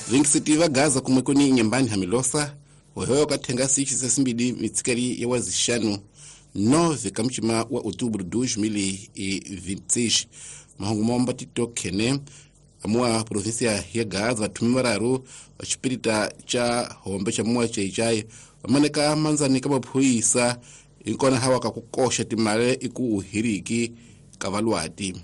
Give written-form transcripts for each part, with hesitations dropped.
Vingisiti va Gaza kumwe kuni Inhambane hamilosa wehewa kathenga 6 mitsikali ya wazixanu 9 kamuchima wa outubro 2026. Mahungu momba titokhene amuwa província ya Gaza vathumi vararu va xipirita cha hombe cha muwa Xai-Xai vamaneka manzani ka maphorisa inkona hawa ka ku koxa timali iku uhiriki ka valwati.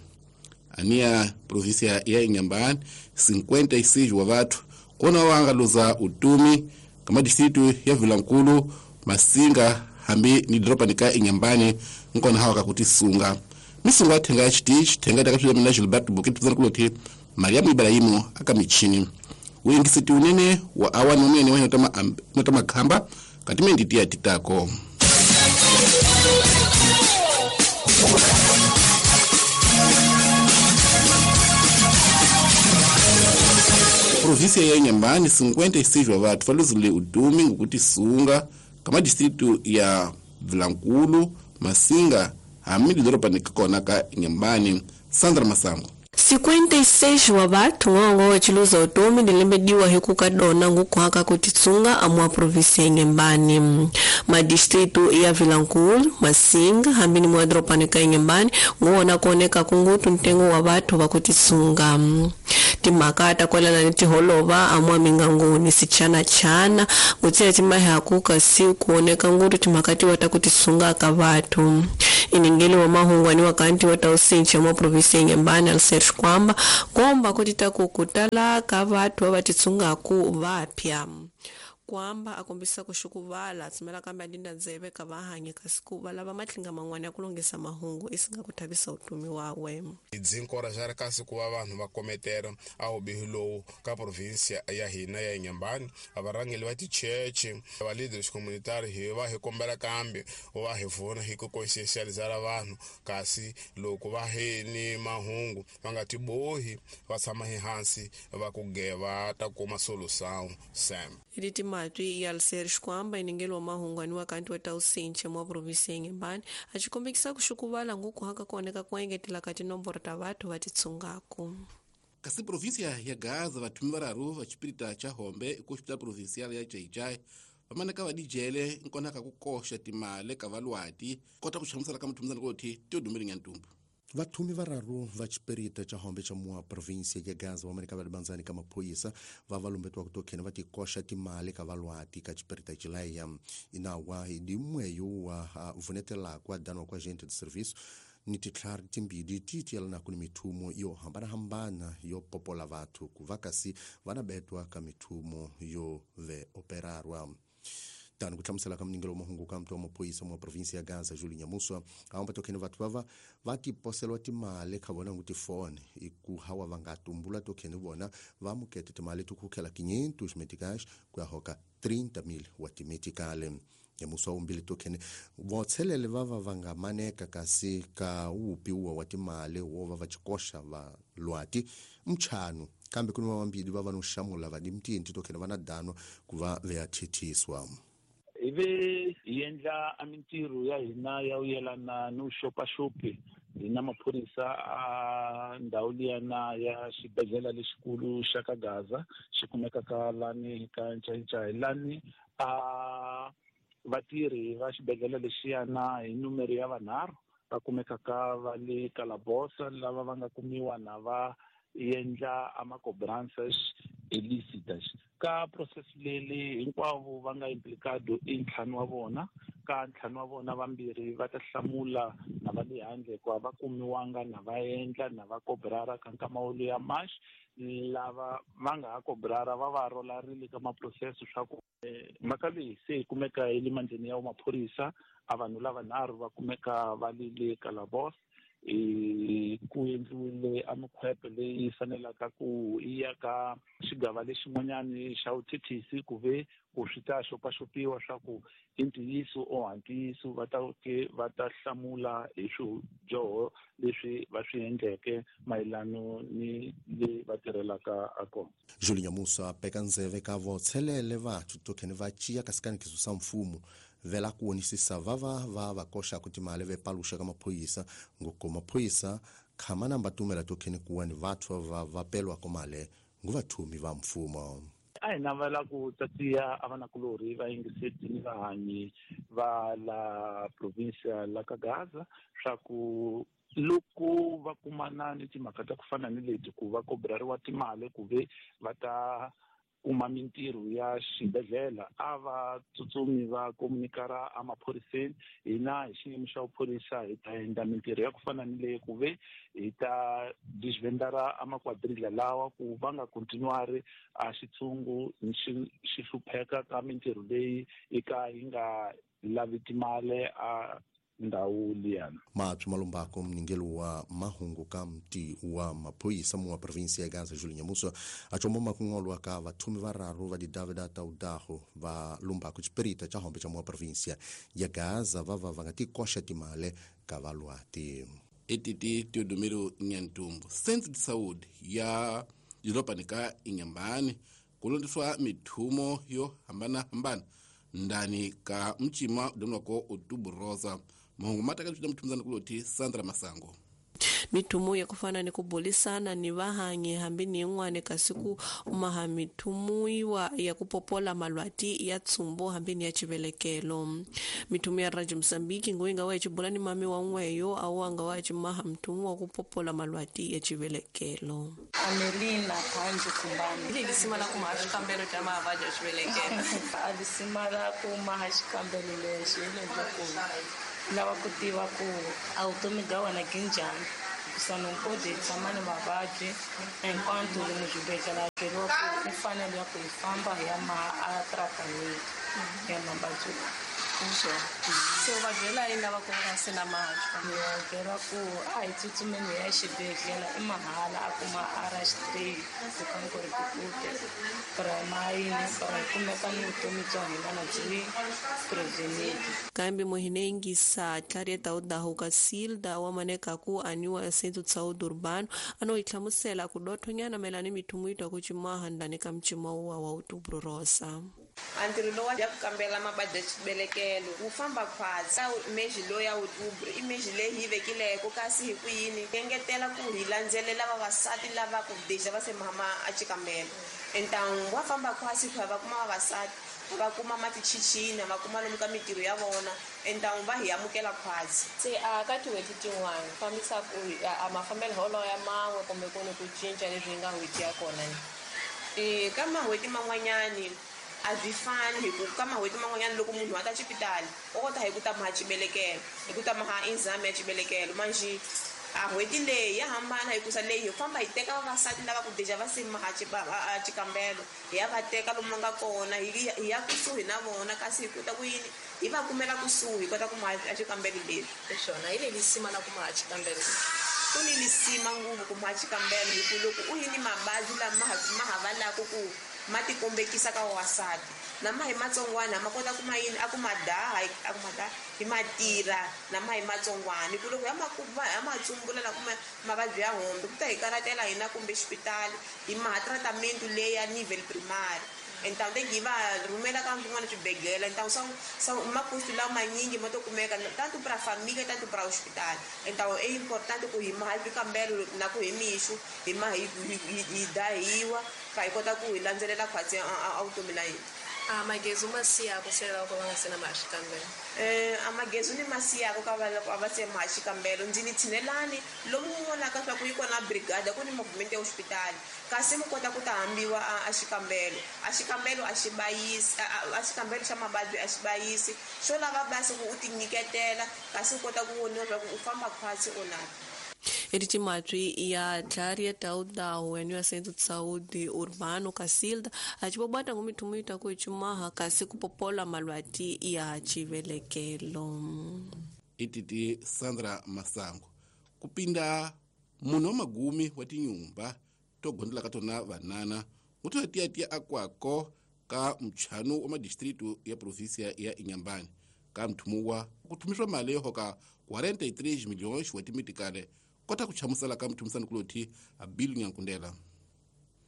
Ania província ya Inhambane 56 wa vathu kona wanga luza utumi kama distritu ya Vilankulu, Masinga hambi ni doropa nika Inhambane nkona hawa kakutisunga misunga thenga chitichi thenga takapita mina Gilberto Bukit tuzana kuloti Mariamu Ibrahimu akamichini uingisiti unene wa awani unene wa notama khamba katimendi tia titako. Província ya Inhambane 56 wa vathu valuzile utumi ngukutisunga kama distritu ya Vilankulu, Masinga hambi doropa nikakona ka Inhambane. Sandra Masango. 56 wa vathu ng'ongo wachiluza utumi ndilembediwa hikukadona ngukuhaka kutitsunga amwa província ya Inhambane. Madistritu ya Vilankulu, Masinga hambi ni mwa doropa ka Inhambane nguwona kuoneka kungutu ntengo wa vathu vakutitsunga. Timhaka ta kwalana ni tiholova amwa mingangoni sichana-chana ngutsiya timahaku kasi kuoneka ngutu timhaka tiwa ta kutisunga ka vathu. Iningeli wa mahungwani wa kanti wa tausinchi mwa província ya Inhambane Alcer Xikwamba komba kuti takukutala ka vathu va titsungaku vapya. Kwamba akombisa kuxukuvala tshumela kambe adinda ndzeve ka vahanyi kasi ku va lava matlinga man'wana ya ku lunghisa mahungu isinga ku thavisa utumi wawe. Dzinkoraja ri kasi ku va vanhu va kometela a vubihi lowu ka província ya hina ya Inhambane. Varhangeri va ticheche va leaders communitary hi va hi kombela kambe va hi vona hi ku conscientializa vanhu kasi loko va hi ni mahungu va nga tibohi va tshama hi hansi va ku geva ta kuma solution sam. Matwi ya Alcer Xikwamba iningelo wa mahungwani wa kanti wa tausinche mwa província ya Inhambane acikombekisa kuxukuvala ngukuhaka kuoneka kuengetela ka tinomboro ta vathu va titsungaku. Kasi província ya Gaza vathumi vararu va xipirita cha hombe ku hospital provincial ya Xai-Xai vamaneka va dijele nkonaka ku koxa timali ka valwati kota ku hlamusela ka muthumisana koti Teodomiri Nyantumbu. Vathumi vararu va xipirita cha hombe cha mua província ya Gaza vamaneka va libanzani ka maphorisa va valumbetiwa ku tokhene va tikoxa timali ka valwati ka xipirita xilaya. Inawa hi dimweyo wa vunetelaka wa danwa kwa agente de serviço ni titlhari timbili ti tiyelanaku ni mithumo yo hambanahambana yo popola vathu ku va kasi va na betwa ka mithumo yo ve operarwa. Tano kuhlamusela ka mningelo wa mahungu ka mtu wa maphorisa mwa província ya Gaza Júlio Nyamuswa aomba tokhene vathu vava va tiposelwa timali kha vona ngu tifone iku hawa va nga tumbula tokhene vona va mukete timali tikhukhela 500 meticais ku ya hoka 30,000 wa timeticale. Nyamuswa umbili tokhene votshelele vava va nga maneka kasi ka upiwa wa timali wo va va xikoxa va lwati mchanu kambe ku ni vambili va va no xamula va dimtinti tokhene va na dano ku va veya thithiswa. Ivi hi endla a mintirho ya hina ya u yelana no xopaxopi hi na maphorisa a ndhawu liyana ya xibedhlele lexikulu xa ka Gaza xi kumekaka lani ka Ncayicayi lani a vatirhi va xibedhlele lexiyana hi numero ya vanharhu va kumekaka va le Kalabosa lava va nga kumiwa na va endla a macobranças ilícitas. Ka process leli hinkwavo va nga implicado i ntlhanu wa vona ka ntlhanu wa vona vambirhi va ta hlamula na va le handle ku va kumiwanga na va endla na va cobrara ka nkama wo ya march lava va nga ha cobrara va va rolarile ka maprocess swa ku mhaka leyi se yi kumeka hi le mandleni ya maphorisa a vanhu lavanharhu va kumeka va le le Kalabos ku endliwile a mikhwepe leyi fanelaka ku ya ka xigava lexin'wanyani xa vuthethisi ku ve ku swi ta xopaxopiwa swa ku i ntiyiso o ha ntiyiso va ta ke va ta hlamula hi swidyoho leswi va swi endleke mayelano ni le va tirhelaka a kona. Júlio Nyamusa peka ndzeve ka votshelele vathu tokhene va ciya kasi kanikiso sa mfumo vela ku wonisisa vava va va koxaka timali ve paluxa ka maphorisa ngoko maphorisa khama na mbatumela tokhene kuwa ni vathu va va pelwako mali nguvathumi va mfumo. A hi navela ku tatiya a vanakulorhi va yingiseti ni vahanyi va la provinsia la ka Gaza swa ku loko va kumana ni timhaka ta ku fana ni leti ku va kobrariwa timali ku ve va ta kuma mintirho ya xibedhlele a va tsutsumi va komunikara emaphoriseni. Hina hi xiyimo xa vuphorisa hi ta endla mintirho ya ku fana ni leyi ku ve hi ta disvendara amakwadrila lawa ku va nga kontinuari a xitshungu xi hlupheka ka mintirho leyi eka yi nga lavi timali a ndhawu liyana. Mapfi malumbako mningelo wa mahungu ka mti wa maphoyisa mu wa provinsia ya Gaza Julinha Muso achomba makungolwa ka vathumi vararu va didavida ta udaho va lumbako chiperita cha hombe cha mu wa provinsia ya Gaza vava va nga tikoxa timale ka valwati. Etiti Teodomiro Nyantumbu Centro de Saúde ya doroba ka Inhambane kulondiswa mithumo yo hambana-hambana ndani ka mchima udonwako Outubro Rosa. Mahungu mataka tuta mtumzana kuloti Sandra Masango. Mithumu ya kufana ni kubulisana ni vahanyi hambi ni yin'wana kasi ku maha mithumu yiwa ya kupopola malwati ya tsumbu hambi ni ya chivelekelo. Mithumu ya Radio Mozambique ngoyinga wa chibula ni mami wa n'weyo awanga wa chimaha mthumu wa kupopola malwati ya chivelekelo. Amelina Panju Kumbani. Ili lisima la kumaha xikambelo xa mavabyi ya chivelekelo. Alisima la kumaha xikambelo lexi hileswaku lava ku tiva ku a vutomi bya wena byi njhani. Hikusa nokodi hi tshama ni mavabyi hinkwato lomu xibedhlele a byeriwa ku i fanele ya ku hi famba hi ya maha a tratament ya mavabyi lawa. Se u va byela yini lava ku nga se na mavabyi? Ni va byela ku a hi tsutsumeni hi ya xibedhlele i mahala a kuma RH3 ku ri primary para hi kumeka ni vutomi bya hina na byi prevented. Kambe muhinengisa Clarieta Udahuka Silda wa maneka ku aniwa Centro de Saúde Urbano ano ihlamusela ku dothonyana mayelana ni mithumu yi twa ku cimaha ndani ka mcima wa Outubro Rosa. Antirho lowa ya ku kambela mavabyi ya xibelekelo wu famba khwatsi ka meji lowu ya Outubro i meji leyi hi vekileko kasi hi ku yini engetela ku hi landzelela vavasati lava ku deja va se mama a xikambelo entangu wa famba khwatsi ku va kuma vavasati va kuma matichichina va kuma lomu ka mintirho ya vona entangu va hi amukela khwatsi. Se a ka tin'hweti tin'wana fambisa ku a mafambelo holo ya man'we kumbe ku ni ku cinca leswi hi nga n'hweti ya kona ni ka mahweti man'wanyani a byi fani hi ku ka mahweti man'wanyana loko munhu a ta xipitali u kota hi ku ta maha xibelekelo hi ku ta maha exam ya xibelekelo manjhe a n'hweti leyi ya hambana hikusa leyi hi famba hi teka vavasati lava ku deja va se maha xikambelo hi ya va teka lomu va nga kona hi ya kusuhi na vona kasi hi kota ku yini hi va kumela kusuhi hi kota ku maha xikambelo leswi. Xona hi leli sima la ku maha xikambelo. Ku ni lisima ngopfu ku maha xikambelo hi ku loko u yi ni mavabyi lama ma ha valaka ku ma tikombekisa ka vavasati na ma hi matsongwana ma kota ku ma yini a ku ma daha a ku ma daha hi ma tirha na ma hi matsongwana hi ku loko ya ma tsumbula na kuma mavabyi ya hombe ku ta hi karatela hina kumbe xipitali hi maha tratament leyi ya nivel primary entangu te hi va rhumela ka swin'wana swibedhlele entangu swa makustu lawa manyingi ma to kumeka tanto pra família tanto pra hospital. Então é importante ku hi maha swikambelo na ku hi mixo hi ma hi dahiwa ka hi kota ku hi landzelela khwatsi a vutomi la hina. A magezu ma siyako se lava ku va nga se na maha xikambelo? A magezu ni ma siyako ka va loko a va se maha xikambelo ndzi ni tshinelani lomu mu vonaka swa ku yi kona brigada ku ni movement ya hospitali kasi mu kota ku ta hambiwa a xikambelo. A xikambelo a xi bayisi a xikambelo xa mavabyi a xi bayisi xo lava basi ku u tinyiketela kasi u kota ku voniwa swa ku u famba khwatsi o na. Etimatswi ya Clarieta Udahu ya Centro de Saúde Urbano Casilda achibobata ngumithumu ita ku ichimaha kasi kupopola malwati ya chivelekelo. Ititi Sandra Masango kupinda munhu wa magumi wa tinyumba to gondela ka tona vanana nguto tiya akwako ka mchanu wa madistritu ya provinsia ya Inhambane ka mthumuwa ku thumiswa mali yo hoka 43 milhões wa timitikale kota kuchamusela ka mthumisani kuloti a Bill Nyankundela.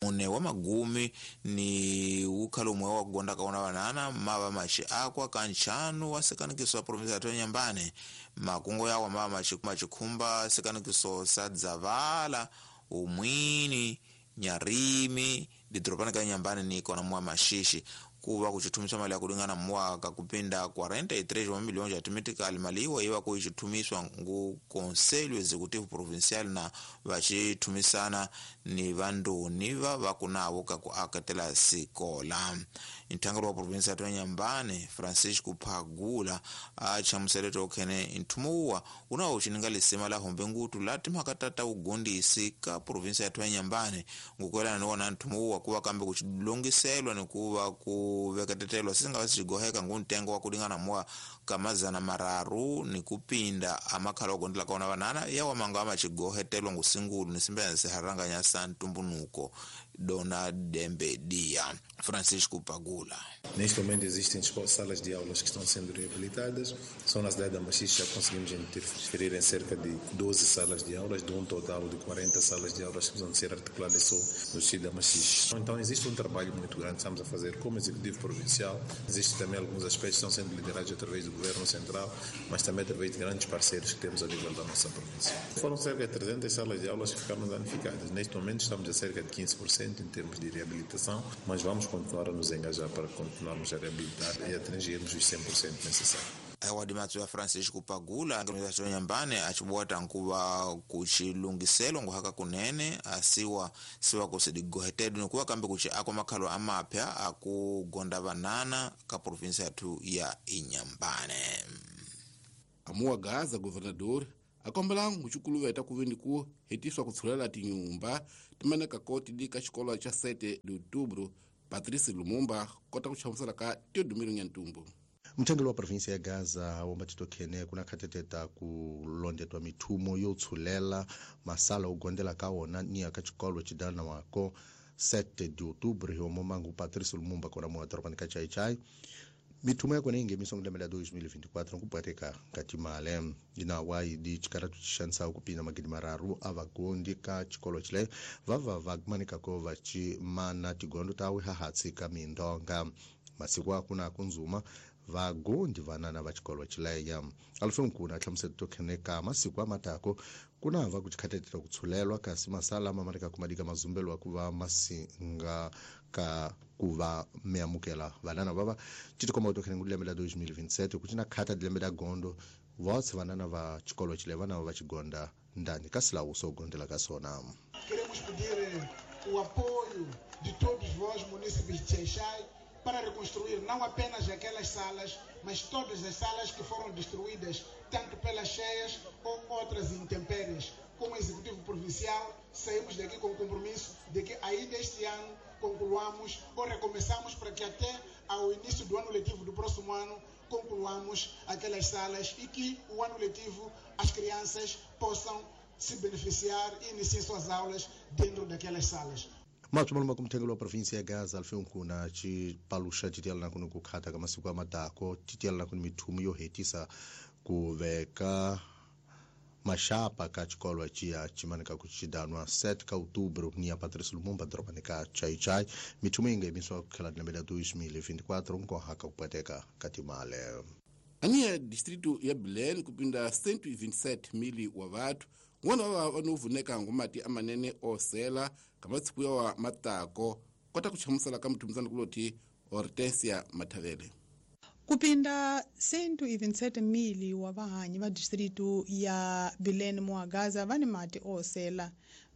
Mune wa magumi ni ukhalomwe wa kugonda kaona vanana mava machi akwa kanchanu wa sekanikiso wa provinsia ya Inhambane makungo yawa mava machikhumba sekanikiso sa Dzavala umwini Nyarimi Didropani ka Inhambane ni kona mwa Maxixe kuva kuchithumiswa mali ya kulingana mwaka kupinda 43 wa milhões ya tumitikali mali iwa iwa kuichithumiswa ngu Conselho Executivo Provincial na vachithumisana ni vandoni va vakunavo ka ku akatela sikola. Nthangelo wa provinsia ya Inhambane Francisco Phagula a chamusele tokhene nthumo uwa unawo uchininga lisima la hombe ngutu la timhaka ta ta ugondisi ka provinsia ya Inhambane ngukwelana ni wona nthumo uwa kuva kambe kuchilongiselwa ni kuva ku veketetelwa sisingava sichigoheka ngu ntengo wa kulingana mwa kamazana mararu ni kupinda amakhala ogondela kaona vanana yawa manga amachigohetelwa ngusingulu nisimbena siharanganya sa ntumbunuko Dona Dembe Dia. Francisco Pagula. Neste momento existem salas de aulas que estão sendo reabilitadas. Só na cidade da Maxixe já conseguimos interferir em cerca de 12 salas de aulas, de um total de 40 salas de aulas que precisam ser articuladas só no distrito da Maxixe. Então existe um trabalho muito grande que estamos a fazer como Executivo Provincial. Existem também alguns aspectos que estão sendo liderados através do Governo Central, mas também através de grandes parceiros que temos a nível da nossa província. Foram cerca de 300 salas de aulas que ficaram danificadas. Neste momento estamos a cerca de 15% em termos de reabilitação, mas vamos continuar a nos engajar para continuarmos a reabilitar e atingirmos os 100% necessários. Awadimatso ya Francisco Pagula Inhambane achibuata nkuva kuchilungiselo nguhaka kunene asiwa siwa kusidigohetedu nikuwa kambe kuchi akwa makhalo amapya akugonda vanana ka provinsia yathu ya Inhambane. Amuwa Gaza governador akombela nguchikuluveta kuve ku hetiswa kutshulela tinyumba timaneka koti di ka xikolo xa 7 de outubro. Patrice Lumumba kota ku chamusela ka Teodomiro Nyantumbu. Mthengeli wa provinsia ya Gaza womba titokhene kuna khateteta ku londetwa mithumo yo tshulela masala ugondela ka wona niya ka xikolo xidana wako 7 de outubro hi womo mangu Patrice Lumumba kona muwa dorobani ka Chaichai. Mithumo ya kona ingemiswa ngulembe la 2024 nkupwateka ka timale inawa idi chikaratu chixanisa kupinda magidi mararu a vagondi ka xikolo xile vava vakumanikako vachimana tigondo tawe hahatsi ka mindonga masiku akuna kunzuma vagondi vanana va xikolo xileya alfenkuna a hlamusela tokhene ka masiku amatako kuna va ku chikhatetela ku tshulelwa kasi masala ma marika kumadika mazumbelo ku va masinga ka ku va miamukela vanana vava titikomba tokhene ku lembe la 2027 ku cina khata lembe la gondo votse vanana va xikolo xile vana va xigonda ndani ka silawu swo gondela ka swona. Queremos pedir o apoio de todos vós, munícipes de Xai-Xai, para reconstruir não apenas aquelas salas, mas todas as salas que foram destruídas, tanto pelas cheias ou outras intempéries. Como Executivo Provincial, saímos daqui com o compromisso de que ainda este ano concluamos ou recomeçamos para que até ao início do ano letivo do próximo ano concluamos aquelas salas e que o ano letivo as crianças possam se beneficiar e iniciar suas aulas dentro daquelas salas. Matsumalo makumthengeli wa provinsia ya Gaza alfenkuna cipaluxa titiyalana kuni ku khata ka masiku amatako titiyalana kuni mithumo yo hetisa ku veka maxapa ka xikolo ciya cimanika ku xidanwa 7 ka outubro ni ya Patrice Lumumba dorobani ka Chaichai. Mithumo yi nga yimisiwa ku tlhela lembe la 2024 nkoha ka ku pweteka ka timale. Aniya distrito ya Bilene kupinda 127 wa vathu n'wana wa va no vuneka ngumati amanene osela kamatsiku yawa matako kota ku chamusela ka muthumisana kuloti Hortensia Mathavele. Kupinda 127 wa vahanyi va distritu ya Bilene Muagaza va ni mati osela.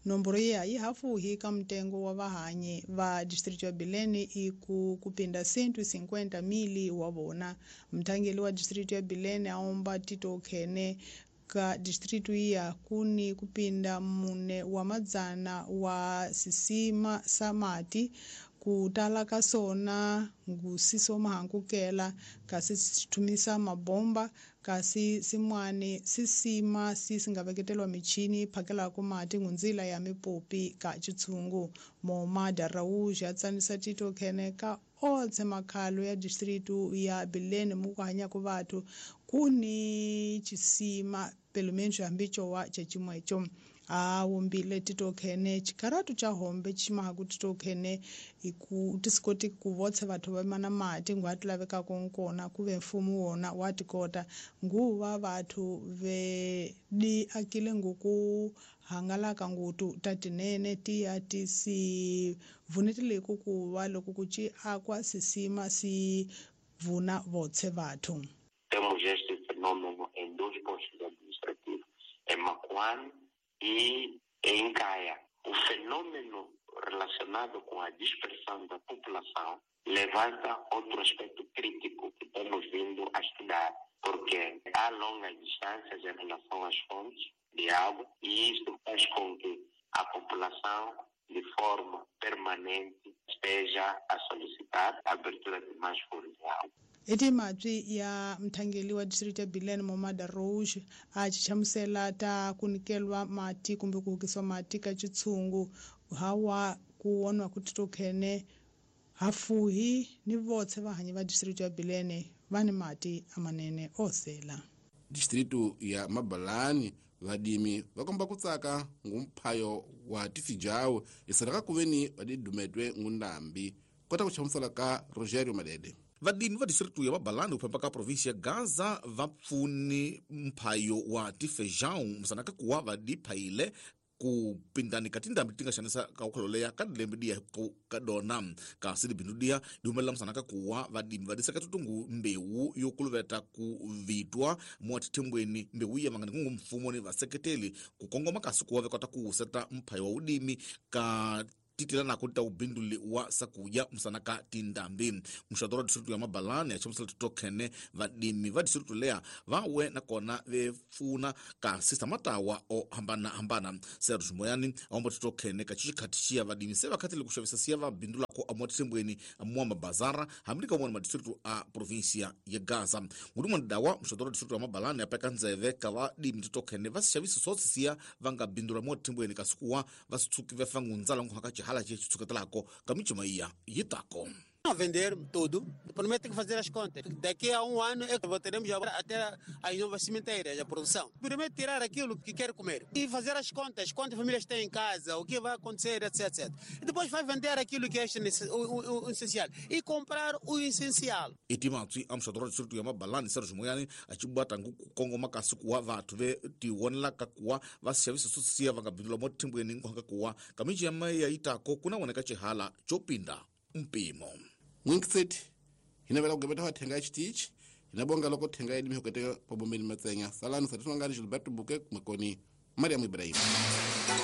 Nomboro ya yi hafuhi ka mtengo wa vahanyi va distritu ya Bilene i ku kupinda 150 wa vona. Mthangeli wa distritu ya Bilene aomba Tito Khene ka distritu iya kuni kupinda mune wa madzana wa sisima sa mati kutala ka sona ngusiso mahankukela kasi sithumisa mabomba kasi simwani sisima sisingaveketelwa michini phakelako mati ngunzila ya mipopi ka chitshungu. Moma Darauj ya tsanisa Tito Khene ka otse makhalo ya distritu ya Bilene muku hanyako vathu kuni chisima pelo menos hambi cowa cecimweco. A wombile titokhene chikaratu cha hombe chimaha titokhene iku tisikoti ku votse vathu va mana mati ngwati lavekaka nkona kuve mfumo wona wa tikota nguva vathu ve di akile nguku hangalaka ngutu tatinene tiya tisi vunetile ku va loko ku ci akwa sisima si vuna votse vathu. Temos este fenômeno em dois postos administrativos, em Macuane e em Caia. O fenômeno relacionado com a dispersão da população levanta outro aspecto crítico que temos vindo a estudar, porque há longas distâncias em relação às fontes de água e isso faz com que a população, de forma permanente, esteja a solicitar a abertura de mais fontes de água. Etimatswi ya mthangeli wa district ya Bilene Momada Rouge a chichamusela ta kunikelwa mati kumbe ku hukiswa mati ka chitshungu hawa ku wonwa ku titokhene hafuhi ni votse vahanyi va district ya Bilene va ni mati amanene osela. Distritu ya Mabalani vadimi vakomba kutsaka ngumphayo wa tifijawo isalaka kuveni vadidumetwe ngundambi kota kuchamusela ka Rogerio Madede. Vadimi va distritu ya Mabalani uphemba ka provinsi ya Gaza va pfuni mphayo wa tifejão musanaka kuwa vadiphayile ku pindani ka tindhambi ti nga xanisa ka ukhololeya ka dilembe diya ka dona kasi libindu diya di humelela musanaka kuwa vadimi va diseka tutungu mbewu yo kuluveta ku vitwa mo tithembweni mbewu iya vangani kungu mfumo ni vaseketeli ku kongoma kasi kuwa vekota ku wuseta mphayo wa udimi ka titela nako ta ubinduli wa sakuya musanaka tindambi. Muxato wa distritu ya Mabalani ya chamusela titokhene vadimi va distritu leya va we nakona ve pfuna kasi samatawa o hambana hambana. Serge Moyani aomba titokhene ka chichikhati xiya vadimi se va khatile ku xavisa siya va bindulako a motithembweni mwa mabazara hambi ka mona madistritu a provinsia ya Gaza. Ngudumwana dawa muxato wa distritu ya Mabalani ya peka ndzeve ka vadimi titokhene va si xavisa swotsi siya va nga bindula motithembweni kasi kuwa va si tshuki va fa ngundzala nkuhaka hala che kamichumaiya yitako. Não vender tudo, primeiro tem que fazer as contas. Daqui a um ano é que teremos até as novas cimenteiras, a produção. Primeiro tirar aquilo que quer comer e fazer as contas, quantas famílias tem em casa, o que vai acontecer, etc, etc. E depois vai vender aquilo que é o essencial e comprar o essencial. Itimatswi amxadoro distritu ya Mabalani Serge Moyani achibwata ngukongoma kasi kuwa vathu ve tiwonelaka kuwa va xavisa swosiya va nga bindula mothimbweni nkuhaka kuwa kamichi ya maya yitako kuna woneka chihala chopinda mpimo. Mwinkisethi hinavela kugebeta wa thenga chitichi hinabonga loko thenga yedimi hoketeka pabombeni matsenya salani satiswangani Gilberto Buke kumekoni Mariam Ibrahim.